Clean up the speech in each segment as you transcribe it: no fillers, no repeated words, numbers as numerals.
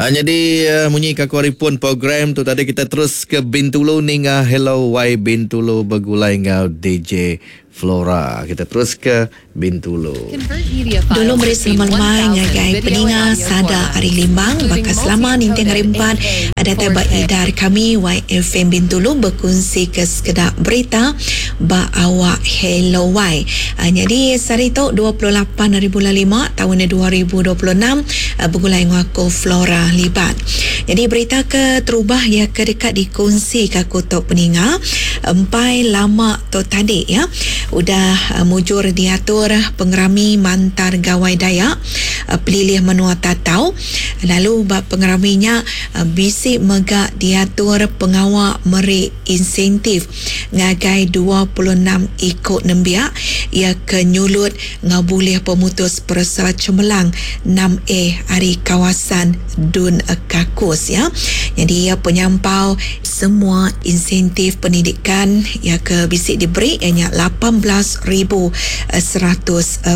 Nyadi munyi ka ku ari pun program tu tadi kita terus ke Bintulu ninga Hello Wai Bintulu begulai enggau DJ Flora. Kita terus ke Bintulu. Dulu meri selamat lemai ngagai peninga sada ari Limbang baka selama ninting hari empat datai ba idar kami YFM Bintulu bekunsi ke sekeda berita ba awak Hello Wai. Nyadi sehari tu 28 hari bulan lima taun 2026 begulai enggau aku Flora Libat. Nyadi berita ke terubah iya ke deka dikunsi ka aku tu peninga empai lama tu tadi iya udah mujur diatur pengerami Mantar Gawai Dayak Pelilih Menua Tatau lalu ba pengerami nya bisi mega diatur pengawa meri insentif ngagai 26 iku nembiak iya ke nyulut enggau bulih pemutus peresa cemerlang enam A ari kawasan Dun Kakus ya. Nyadi iya penyampau semua insentif pendidikan iya ke bisi diberi iya nya 18,100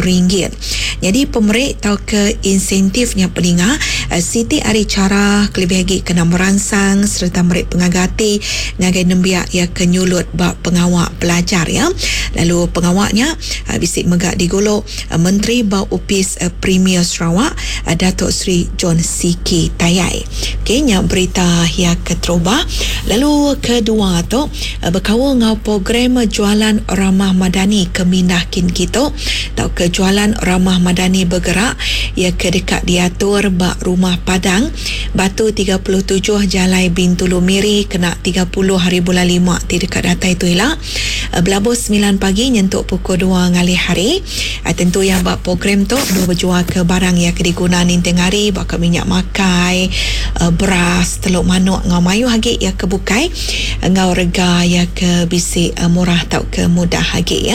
ringgit. Nyadi pemeri tauka insentif nya peninga siti ari chara kelebih agi kena meransang sereta meri pengaga ati ngagai nembiak iya ke nyulut ba pengawa pelajar iya. Lalu pengawa nya Bisi mega digulu Menteri ba Opis Premier Sarawak, Datuk Seri John Sikie Tayai. Okey nya berita iya keterubah. Lalu kedua tu bekaul enggau program Jualan Ramah Madani ke mindah kin kitu tauka Jualan Ramah Madani Bergerak iya ke deka diatur ba Rumah Padang, Batu 37 Jalai Bintulu Miri kena 30 hari bulan lima ti deka datai tu ila. Belabuh semilan pagi nyentuk pukul dua ngalih hari. Tentu iya ba program tu dua bejualka barang iya ke diguna ninting hari baka minyak makai, beras, teluk manuk enggau mayuh agi iya ke bukai enggau rega iya ke bisi murah tauka mudah agi.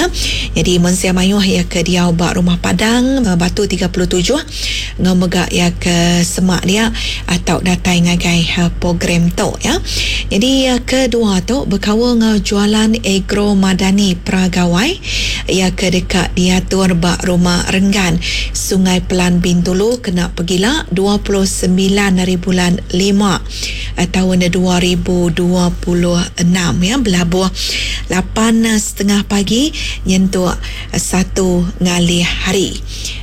Nyadi mensia mayuh iya ke diau ba Rumah Padang, Batu 37 enggau mega iya ke semak dia tau datai ngagai program tu ya. Nyadi ke dua tu bekaul enggau jualan Agro Madani Pra Gawai iya ke deka diatur ba Rumah Renggan, Sungai Pelan Bintulu kena pegila 29 hari bulan lima taun 2026 ya belabuh lapan setengah pagi nyentuk satu ngalih hari.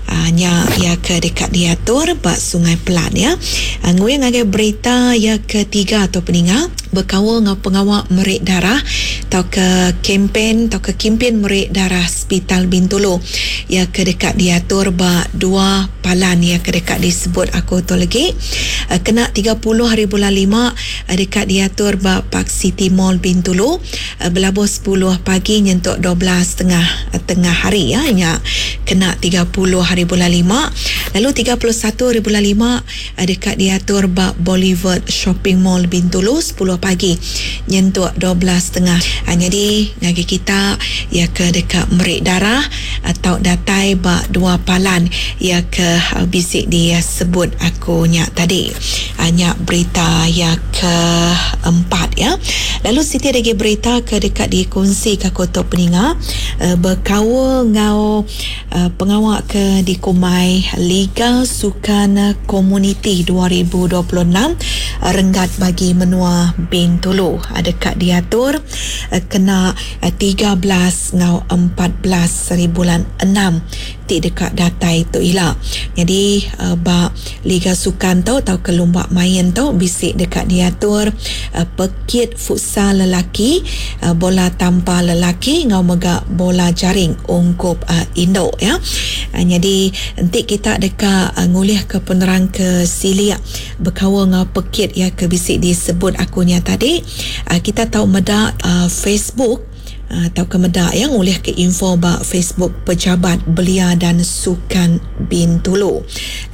Nya iya ke deka diatur ba Sungai Pelan ya. Nguing ngagai berita iya ke tiga tu peninga bekaul enggau pengawa meri darah tauka kempen tauka kimpin meri darah Sepital Bintulu iya ke deka diatur ba dua palan iya ke deka disebut aku tu legi. Kena 30 hari bulan lima deka diatur ba Park City Mall Bintulu Belabuh sepuluh pagi nyentuk 12 tengah tengah hari iya nya kena 30 hari bulan lima lalu 31 hari bulan lima deka diatur ba Boulevard Shopping Mall Bintulu sepuluh pagi nyentuk 12 tengah. Nyadi ngagai kita iya ke deka meri darah tau datai ba dua palan iya ke bisi disebut aku nya tadi. Nya berita iya ke empat iya. Lalu siti agi berita ke deka dikunsi ka ku tu peninga bekaul enggau pengawa ke dikumbai Liga Sukan Komuniti 2026 renggat bagi menua Bintulu deka diatur kena 13 enggau 14 haribulan enam ti deka datai tu ila. Nyadi ba Liga Sukan tu tauka lumba main tu bisi deka diatur pekit futsal lelaki, bola tampar lelaki enggau mega bola jaring ungkup indu ya. Nyadi enti kita deka ngulihka penerang ke silik bekaul enggau pekit iya ke bisi disebut aku nya tadi, kita tau meda Facebook. Tauka meda iya ngulihka info ba Facebook Pejabat Belia dan Sukan Bintulu.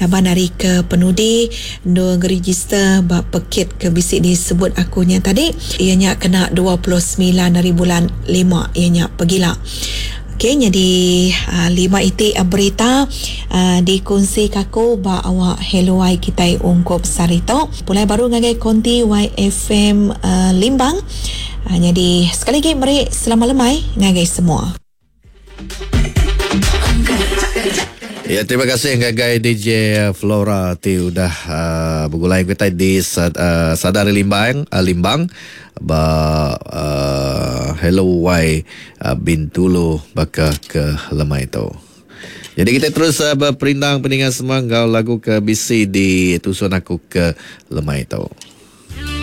Laban ari ke penudi endur ngerejister ba pekit ke bisi disebut aku nya tadi iya nya kena 29 hari bulan lima iya nya pegila. Ok nyadi lima iti berita dikunsika aku ba awak Hello Ai kitai ungkup sehari tu. Pulai baru ngagai konti YFM Limbang. Nyadi sekali agi meri selamat lemai ngagai semua. Ya, terima kasih ngagai DJ Flora ti udah uh, begulai kita di uh, Sadar Limbang, uh, Limbang ba uh, Hello Y uh, Bintulu baka ke lemai tu. Jadi kita terus uh, berperindang peningan semua ngau lagu ke BC di tusun aku ke lemai tu.